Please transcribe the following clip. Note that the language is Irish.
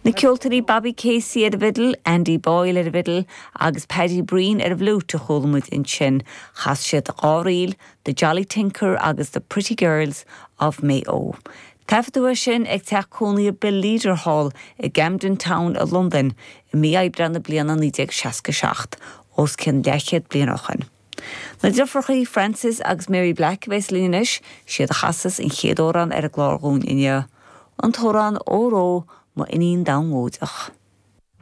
Na ceoltóirí Bobby Casey ar an bhfidil, Andy Boyle ar an bhfidil agus Paddy Breen ar an bhfliúit a chuala muid ansin. Chas siad dá ríl, The Jolly Tinker agus The Pretty Girls of Mayo. Taifeadadh é sin ag teach cónaithe Bill Leader thall i gCamden Town i Londain i mí Aibreáin na bliana 1967, os cionn leathchéad bliain ó shoin. Na deirfiúrachaí Frances agus Mary Black a bheas linn anois, siad a chasas an chéad amhrán ar an gclár dhúinn inniu, an t-amhrán Óró Mo Iníon Domhnóideach.